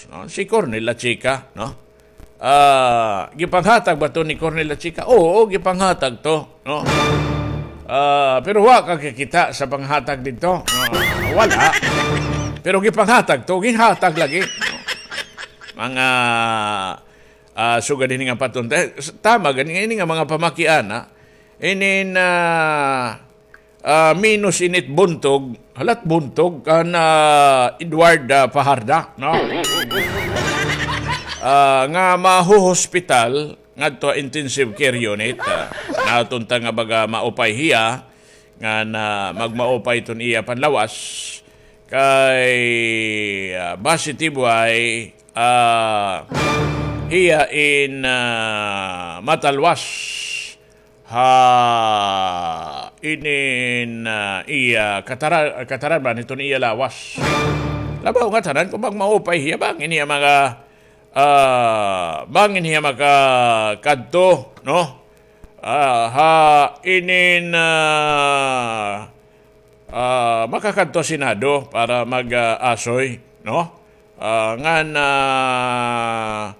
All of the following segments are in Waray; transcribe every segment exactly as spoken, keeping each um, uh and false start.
no? Si Colonel Lachica, no? Ah, gipanghatag ba to ni Colonel Lachica? Oo, gipanghatag to, no? Ah, pero wa ka kakita sa panghatag didto. Ah, wala. Pero gipanghatag to, ginhatag lagi. Mga, ah, sugad hini nga patunta. Eh, tama gani, ini nga mga pamakiana, inin, ah, ah, minus init buntog, halat buntog, kan, ah, Edward, ah, Fajarda, no? Ah, nga mahuhospital, ngadto ha intensive care unit, ah, natunta nga baga maupay hiya, nga na magmaupay iton iya panlawas, kay, ah, base tibway, ah, hiya in, ah, matalwas ha inin, ah, iya katara-, kataradman hiton iya lawas. Labaw ngatanan kon magmaupay hiya, bangin hiya mga, ah, bangin hiya makakadto, no? Ah, ha inin, ah, ah, makakadto ha Senado para mag, ah, asoy, no? Ah, ngan, ah,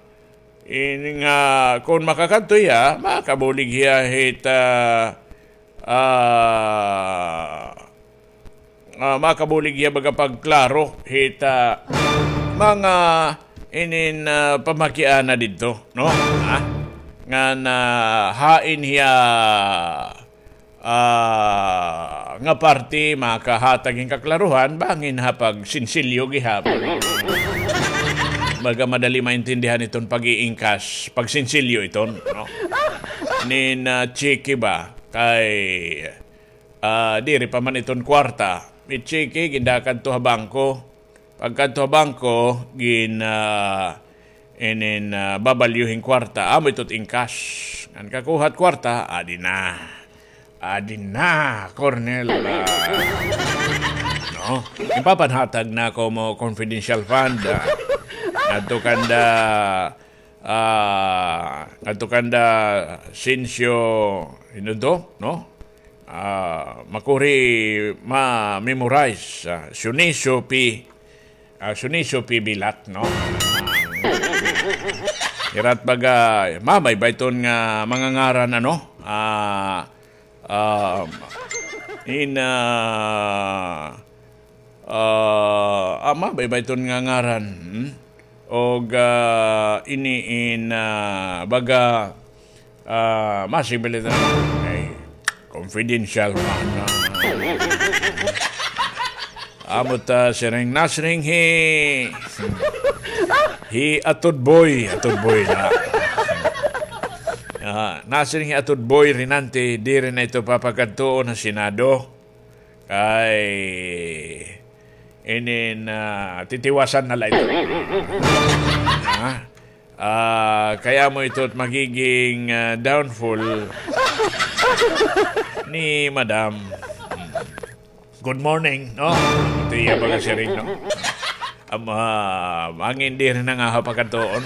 in nga kon makakadto hiya, makabulig hiya hit, ah, ah, ah, makabulig hiya baga pagklaro hit, ah, mga inin, ah, pamakiana didto, no? Ha? Ngan, ah, hain hiya ah, nga parte makahatag hin kaklaruhan, bangin ha pagsinsilyo gihap. Baga madali maintindihan iton pag-iingkas, pagsinsilyo iton, no? Nin, ah, tseke ba? Kay, ah, diri pa man iton kwarta. May tseke, gindakadto ha bangko. Pagkadto ha bangko, gin, ah, inin, ah, babalyo hin kwarta. Amo ito it ingkas. Ngan kakuha it kwarta, adi na. Adi na, Colonel. Ah, no? Ipapanhatag na ko mo confidential fund. Ah. Ngadto kanda, ah, ngadto kanda Sincio, ano to? No? Ah, makuri ma-memorize, ah, Sioniso P, ah, Sioniso P Bilat, no? Hirat baga, mamay ba iton nga mga ngaran, ano? Ah, ah, in, ah, ah, ah, mamay ba iton nga ngaran, hmm? Og, ah, ini in, ah, baga, ah, masing balita. Ay, confidential man, ah. Amo ta siring nasiring hi, hi Atod Boy, Atod Boy na. Ah, nasiring hi Atod Boy Rinante, diri na ito papakadtuon ha Senado. Kay inin, ah, titiwasan na la ito. Ha? Ah, kay amo ito it magiging, ah, downfall ni Madam. Good morning, no? Ito iya baga siring, no? Am, ah, bangin diri na nga ha pakadtuon.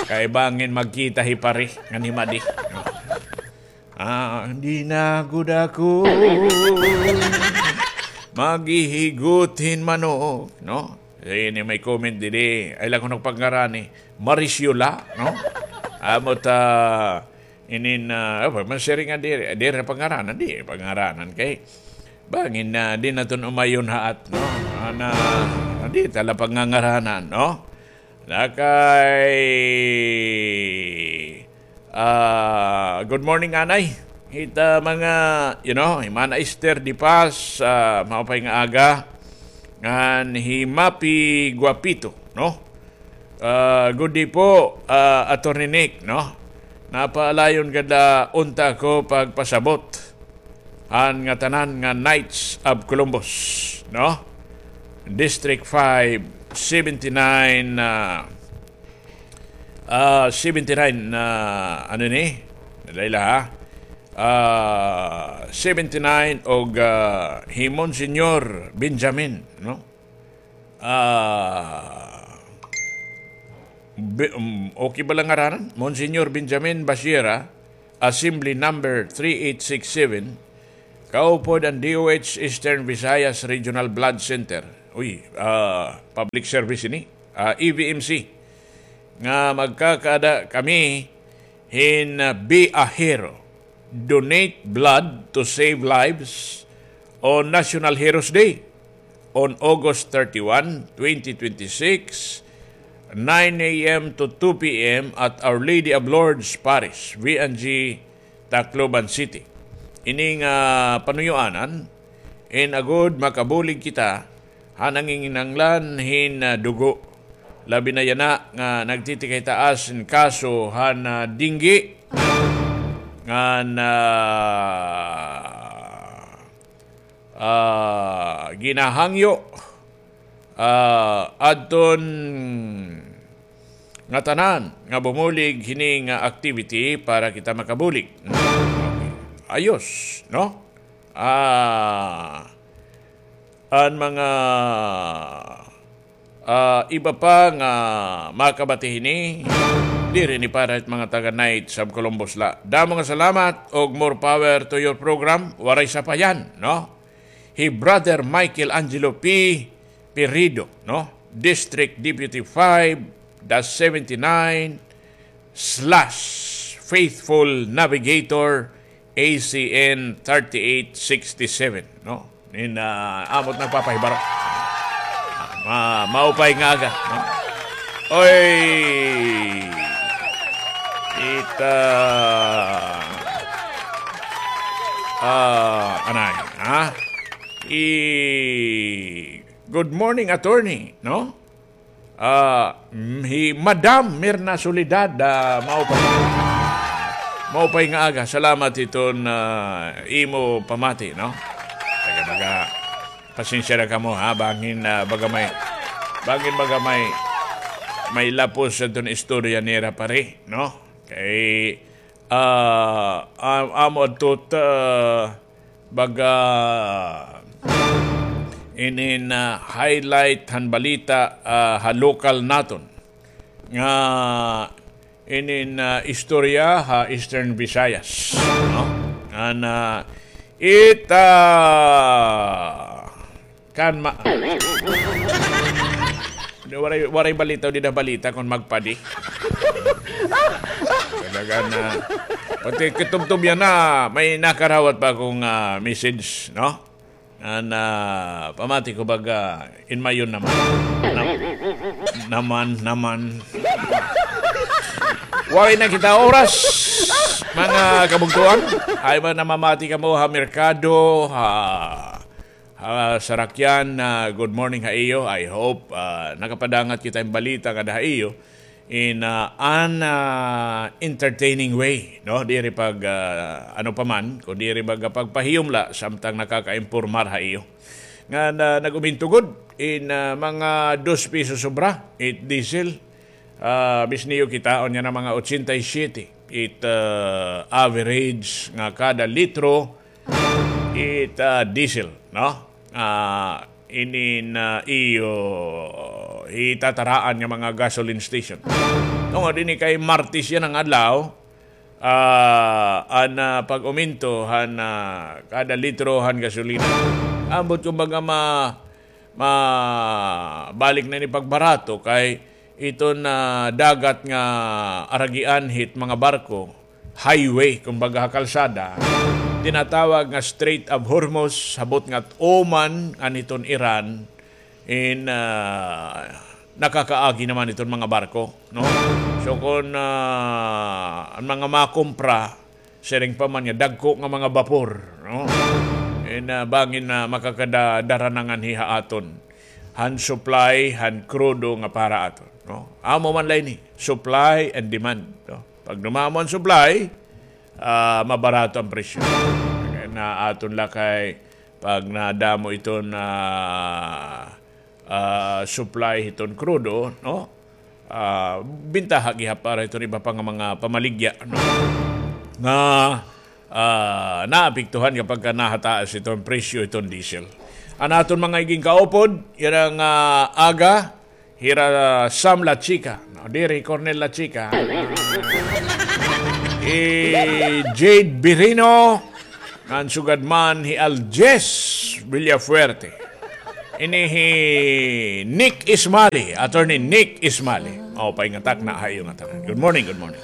Kay bangin magkita hi pare ngan hi madi, no? Ah, di na gud ako maghihigot hin manok, no? Ini may comment didi. Ay lang ko nagpangarani. Marisiola, no? Amo ta, inin, ah, oh, man siring nga diri, diri pangaranan, di pangaranan kay bangin na di naton umayon haat, no? Ana, di ta la pangangaranan, no? Lakay, ah, good morning, anay. Hita mga, you know, hi Mana Esther Di Paz, ah, maupay nga aga. Ngan hi Mapi Guapito, no? Ah, good day po, ah, Attorney Nick, no? Napaalayon gad la unta ko pagpasabot han ngatanan nga Knights of Columbus, no? District five, seventy-nine, ah, ah, seventy-nine, ah, ano ni? Layla, ha? Ah, seventy-nine og, ah, hi Monsignor Benjamin, no? Ah, Be-, um, okay ba la ngaranan? Monsignor Benjamin Basiera, Assembly Number three eight six seven, kaupod han D O H Eastern Visayas Regional Blood Center. uy, ah, public service ini, ah, E V M C, nga magkakaada kami hin, ah, Be a Hero, Donate Blood to Save Lives on National Heroes Day on August thirty-one, twenty twenty-six, nine a m to two p m at Our Lady of Lourdes Parish, V N G, Tacloban City. Ini nga panuyuanan, in agod makabulig kita han nanginginahanglan hin, ah, dugo. Labi na yana nga nagtitikay-taas in kaso han, ah, dengue ngan, ah, ah, ginahangyo, ah, adton ngatanan nga bumulig hini nga activity para kita makabulig. Ayos, no? Ah, an mga, ah, iba pa nga makabati hini, diri ini para hit mga taga Knights of Columbus la. Damo nga salamat ug more power to your program. Waray sapayan, no? Hi Brother Michael Angelo P. Pirido, no? District Deputy five dash seventy-nine slash Faithful Navigator A C N thirty-eight sixty-seven, no? In, ah, amo it nagpapahibaro. Ah, ma-, maupay nga aga, no? Oy! Kita. Ah, anay, ha? I-, good morning, attorney, no? Ah, mm, hi Madam Mirna Soledad, ah, maupay. Maupay nga aga. Salamat hiton, ah, imo pamati, no? Taga, taga, pasensya na kamo, ha? Bangin, ah, baga may, bangin baga may, may lapos hiton istorya nira, pare, no? Kay, ah, am-, amo adto, ah, baga inin, ah, highlight han balita, ah, ha lokal naton nga inin, ah, istorya ha Eastern Visayas, no? Ngan, ah, ita kan ma-, waray, waray balita, dida balita kon magpadi. Talaga na. Pati kitubtob yana, may nakarawat pa akon, ah, message, no? An, ah, pamati ko baga, in mayon naman. Nam-, naman, naman. Waray na kita oras, mga kabugtoan. Ay ba namamati kamo ha merkado, ha, ha sarakyan, ah, good morning ha iyo. I hope, ah, nakapadangat kita hin balita ngada ha iyo in, ah, an, ah, entertaining way, no? Diri pag, ah, ano pa man, kun diri baga pagpahiyom la, samtang nakakaimpormar ha iyo. Ngan, ah, nag-uminto gud in, ah, mga dos piso sobra it diesel. Ah, bisniyo kita, unya na mga ochenta y siete it, ah, average nga kada litro it, ah, diesel, no? Ah, inin, ah, iyo hitataraan nga mga gasoline station. Tungod ini kay Martes yana nga adlaw, ah, an, ah, pag-uminto han, ah, kada litro han gasolina. Ambot kumbaga ma-, mabalik na ini pagbarato kay iton, ah, dagat nga aragian hit mga barko, highway, kumbaga ha kalsada, tinatawag nga Strait of Hormuz, ha butnga hit Oman, ngan hiton Iran, in, ah, nakakaagi naman iton mga barko, no? So, kon, ah, an mga makumpra, siring pa man nga dagko nga mga bapor, no? In, ah, bangin na makakada-, dara na nganhi ha aton han supply han krudo nga para aton, no? Amo man la ini, supply and demand, no? Pag dumamo an supply, ah, mabarato an presyo. Kay na aton la kay pag nadamo iton, ah, ah, supply hiton krudo, no? Ah, bintaha gihap para hiton iba pa nga mga pamaligya, no? Nga, ah, naapektuhan kapag ka nahataas iton presyo hiton diesel. An aton mga igin kaupod, yana nga aga, hira Sam La Chica, no? Diri, Cornel La Chica. Hi Jade Birino, ngan sugad man hi Aljes Villafuerte. Ini hi Nick Ismali, Attorney Nick Ismali. O, paingatak na ha iyo ngatanan. Good morning, good morning.